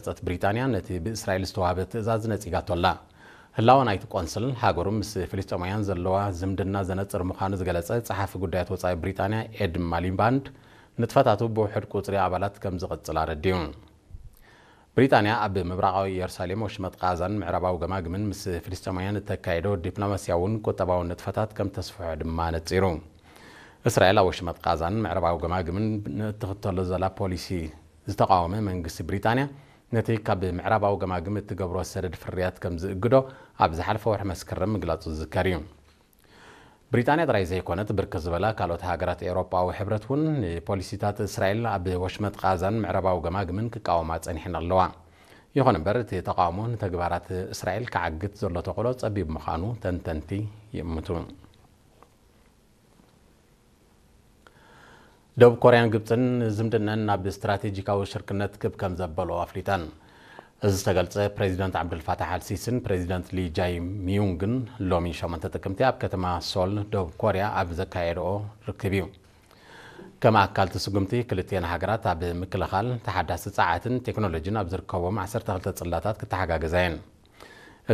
ዝገለጸት ብሪጣንያ፣ ነቲ ብእስራኤል ዝተዋህበ ትእዛዝ ነጺጋቶ ኣላ። ህላወ ናይቲ ቆንስል፣ ሃገሩ ምስ ፍልስጤማውያን ዘለዋ ዝምድና ዘነጽር ምዃኑ ዝገለጸ ጸሓፊ ጉዳያት ወጻኢ ብሪጣንያ ኤድ ማሊባንድ፣ ንጥፈታቱ ብውሑድ ቁጽሪ ኣባላት ከም ዝቕጽል ኣረዲኡ። ብሪጣንያ ኣብ ምብራቓዊ ኢየሩሳሌም፣ ወሽመጥ ቃዛን ምዕራባዊ ገማግምን ምስ ፍልስጤማውያን እተካየዶ ዲፕሎማስያውን ቁጠባውን ንጥፈታት ከም ተስፍሖ ድማ ነጺሩ። እስራኤል ኣብ ወሽመጥ ቃዛን ምዕራባዊ ገማግምን ንእትኽተሎ ዘላ ፖሊሲ ዝተቓወመ መንግስቲ ብሪጣንያ፣ ነቲ ካብ ምዕራባዊ ገማግም እትገብሮ ሰደድ ፍርያት ከም ዝእግዶ ኣብ ዝሓለፈ ወርሒ መስከረም ምግላጹ ዝዝከር እዩ። ብሪጣንያ ጥራይ ዘይኮነት፣ ብርክት ዝበላ ካልኦት ሃገራት ኤውሮጳዊ ሕብረት እውን ንፖሊሲታት እስራኤል ኣብ ወሽመጥ ቃዛን ምዕራባዊ ገማግምን ክቃወማ ጸኒሐን ኣለዋ። ይኹን እምበር፣ እቲ ተቓውሞ ንተግባራት እስራኤል ክዓግት ዘሎ ተኽእሎ ጸቢብ ምዃኑ ተንተንቲ ይእምቱ። ደቡብ ኮርያን ግብጽን ዝምድነን ናብ ስትራቴጂካዊ ሽርክነት ክብ ከም ዘበሎ ኣፍሊጠን። እዚ ዝተገልጸ ፕሬዚደንት ዓብዱልፋታሕ ኣልሲሲን ፕሬዚደንት ሊ ጃይ ሚዩንግን ሎሚ ሸሞንተ ጥቅምቲ ኣብ ከተማ ሶል ደቡብ ኮርያ ኣብ ዘካየድኦ ርክብ እዩ። ከም ኣካል እቲ ስጉምቲ፣ ክልቲኤን ሃገራት ኣብ ምክልኻል፣ ተሓዳሲ ጸዓትን ቴክኖሎጂን ኣብ ዝርከቦም ዓሰርተ ክልተ ጽላታት ክተሓጋገዛ እየን።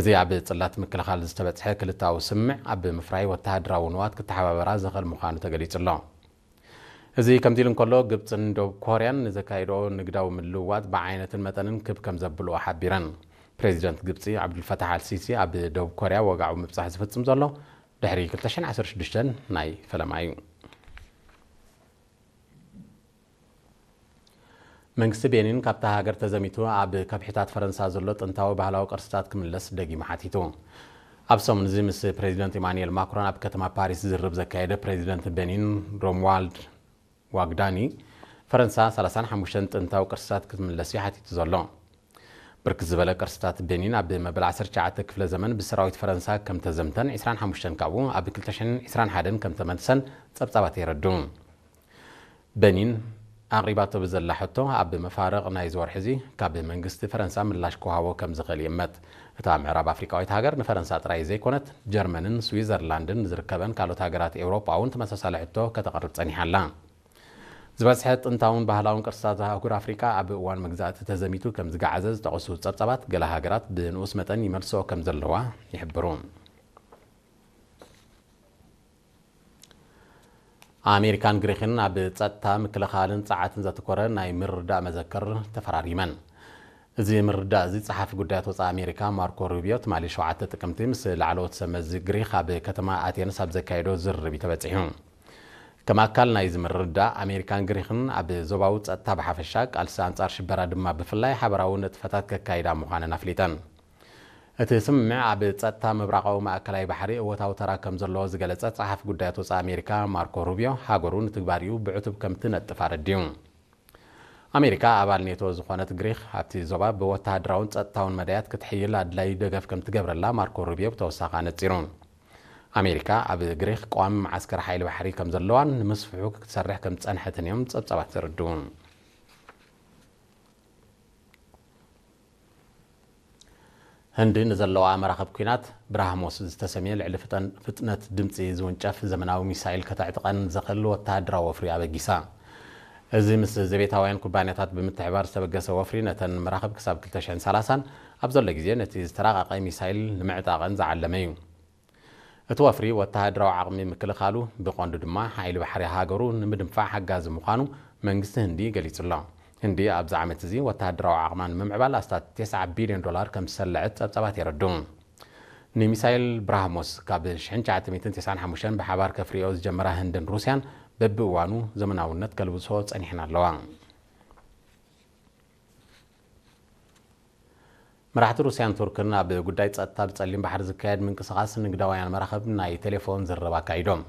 እዚ ኣብ ጽላት ምክልኻል ዝተበጽሐ ክልተኣዊ ስምምዕ ኣብ ምፍራይ ወተሃደራዊ ንዋት ክተሓባበራ ዘኽእል ምዃኑ ተገሊጹ ኣሎ። እዚ ከምዚ ኢሉ እንከሎ፣ ግብጽን ደቡብ ኮርያን ንዘካይድኦ ንግዳዊ ምልውዋጥ ብዓይነትን መጠንን ክብ ከም ዘብልኦ ሓቢረን። ፕሬዚደንት ግብጺ ዓብዱልፈታሕ ኣልሲሲ ኣብ ደቡብ ኮርያ ወግዓዊ ምብጻሕ ዝፍጽም ዘሎ ድሕሪ ክልተ ሽሕን ዓሰርተ ሽዱሽተን ናይ ፈለማ እዩ። መንግስቲ ቤኒን ካብታ ሃገር ተዘሚቱ ኣብ ከብሒታት ፈረንሳ ዘሎ ጥንታዊ ባህላዊ ቅርስታት ክምለስ ደጊሙ ሓቲቱ። ኣብ ሰሙን እዚ ምስ ፕሬዚደንት ኢማኑኤል ማክሮን ኣብ ከተማ ፓሪስ ዝርብ ዘካየደ ፕሬዚደንት ቤኒን ሮሙዋልድ ዋግዳኒ፣ ፈረንሳ ሰላሳን ሓሙሽተን ጥንታዊ ቅርስታት ክትምለስ እዩ ሓቲቱ ዘሎ። ብርክት ዝበለ ቅርስታት ቤኒን ኣብ መበል ዓሰርተ ትሽዓተ ክፍለ ዘመን ብሰራዊት ፈረንሳ ከም ተዘምተን፣ ዕስራን ሓሙሽተን ካብኡ ኣብ ክልተ ሽሕን ዕስራን ሓደን ከም ተመልሰን ጸብጻባት የረድኡ። በኒን ኣቕሪባቶ ብዘላ ሕቶ፣ ኣብ መፋርቕ ናይዚ ወርሒ እዚ ካብ መንግስቲ ፈረንሳ ምላሽ ክወሃቦ ከም ዝኽእል ይእመት። እታ ምዕራብ ኣፍሪቃዊት ሃገር ንፈረንሳ ጥራይ ዘይኮነት፣ ጀርመንን ስዊዘርላንድን ዝርከበን ካልኦት ሃገራት ኤውሮጳ እውን ተመሳሳሊ ሕቶ ከተቕርብ ጸኒሓ ኣላ። ዝበዝሐ ጥንታውን ባህላውን ቅርስታት ኣህጉር ኣፍሪቃ ኣብ እዋን መግዛእቲ ተዘሚቱ ከም ዝገዓዘ ዝጠቐሱ ጸብጻባት፣ ገለ ሃገራት ብንኡስ መጠን ይመልስኦ ከም ዘለዋ ይሕብሩ። ኣሜሪካን ግሪኽን ኣብ ጸጥታ፣ ምክልኻልን ጸዓትን ዘተኮረ ናይ ምርድዳእ መዘክር ተፈራሪመን። እዚ ምርድዳእ እዚ ጸሓፊ ጉዳያት ወጻኢ ኣሜሪካ ማርኮ ሩቢዮ ትማሊ ሸውዓተ ጥቅምቲ ምስ ላዕለዎት ሰብ መዚ ግሪኽ ኣብ ከተማ ኣቴንስ ኣብ ዘካየዶ ዝርርብ እዩ ተበጺሑ። ከም ኣካል ናይዚ ምርድዳእ፣ ኣሜሪካን ግሪኽን ኣብ ዞባዊ ጸጥታ ብሓፈሻ፣ ቃልሲ ኣንጻር ሽበራ ድማ ብፍላይ ሓበራዊ ንጥፈታት ከካይዳ ምዃነን ኣፍሊጠን። እቲ ስምምዕ ኣብ ጸጥታ ምብራቓዊ ማእከላይ ባሕሪ እወታዊ ተራ ከም ዘለዎ ዝገለጸ ጸሓፊ ጉዳያት ወጻኢ ኣሜሪካ ማርኮ ሩቢዮ፣ ሃገሩ ንትግባሪኡ ብዕቱብ ከም ትነጥፍ ኣረዲኡ። ኣሜሪካ ኣባል ኔቶ ዝኾነት ግሪኽ፣ ኣብቲ ዞባ ብወተሃደራውን ጸጥታውን መዳያት ክትሕይል ኣድላዪ ደገፍ ከም ትገብረላ ማርኮ ሩቢዮ ብተወሳኺ ኣነጺሩ። ኣሜሪካ ኣብ ግሪኽ ቀዋሚ መዓስከር ሓይሊ ባሕሪ ከም ዘለዋን ንምስፍሑ ክትሰርሕ ከም ዝጸንሐትን እዮም ጸብጻባት ዘረድኡ። ህንዲ ንዘለዋ መራኽብ ኲናት ብራህሞስ ዝተሰምየ ልዕሊ ፍጠን-፣ ፍጥነት ድምጺ ዝውንጨፍ ዘመናዊ ሚሳይል ከተዕጥቐን ዘኽእል ወተሃደራዊ ወፍሪ ኣበጊሳ። እዚ ምስ ዘቤታውያን ኩባንያታት ብምትሕባር ዝተበገሰ ወፍሪ፣ ነተን መራኽብ ክሳብ ክልተ ሽሕን ሰላሳን ኣብ ዘሎ ግዜ ነቲ ዝተራቐቐ ሚሳይል ንምዕጣቐን ዝዓለመ እዩ። እቲ ወፍሪ ወተሃደራዊ ዓቕሚ ምክልኻሉ፣ ብቐንዱ ድማ ሓይሊ ባሕሪ ሃገሩ ንምድንፋዕ ሓጋዚ ምዃኑ መንግስቲ ህንዲ ገሊጹ ኣሎ። ህንዲ ኣብዚ ዓመት እዚ ወተሃደራዊ ዓቕማ ንምምዕባል ኣስታት ተስዓ ቢልዮን ዶላር ከም ዝሰለዐት ጸብጻባት የረድኡ። ንሚሳይል ብራህሞስ ካብ ሽሕን ትሽዓተ ሚእትን ተስዓን ሓሙሽተን ብሓባር ከፍርዮ ዝጀመራ ህንድን ሩስያን በብእዋኑ ዘመናውነት ከልብሶ ጸኒሐን ኣለዋ። መራሕቲ ሩስያን ቱርክን ኣብ ጉዳይ ጸጥታ ብጸሊም ባሕሪ ዝካየድ ምንቅስቓስ ንግዳውያን መራኽብ ናይ ቴሌፎን ዝርርብ ኣካይዶም።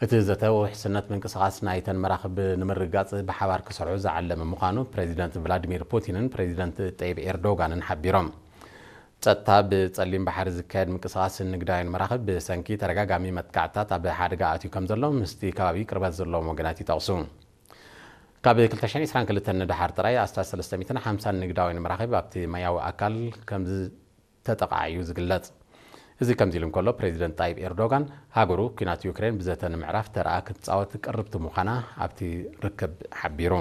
እቲ ዘተ ውሕስነት ምንቅስቓስ ናይተን መራኽብ ንምርግጋጽ ብሓባር ክሰርሑ ዝዓለመ ምዃኑ ፕሬዚደንት ቭላዲሚር ፑቲንን ፕሬዚደንት ጠይብ ኤርዶጋንን ሓቢሮም። ጸጥታ ብጸሊም ባሕሪ ዝካየድ ምንቅስቓስ ንግዳውያን መራኽብ ብሰንኪ ተደጋጋሚ መጥቃዕትታት ኣብ ሓደጋ ኣትዩ ከም ዘሎ ምስቲ ከባቢ ቅርበት ዘለዎም ወገናት ይጠቕሱ። ካብ ክልተ ሽሕን ዕስራን ክልተን ንደሓር ጥራይ ኣስታት ሰለስተ ሚእትን ሓምሳን ንግዳውያን መራኽብ ኣብቲ ማያዊ ኣካል ከም ዝተጠቕዓ እዩ ዝግለጽ። እዚ ከምዚ ኢሉ እንከሎ፣ ፕሬዚደንት ጣይብ ኤርዶጋን ሃገሩ ኲናት ዩክሬን ብዘተ ንምዕራፍ ተርኣ ክትጻወት ቅርብቲ ምዃና ኣብቲ ርክብ ሓቢሩ።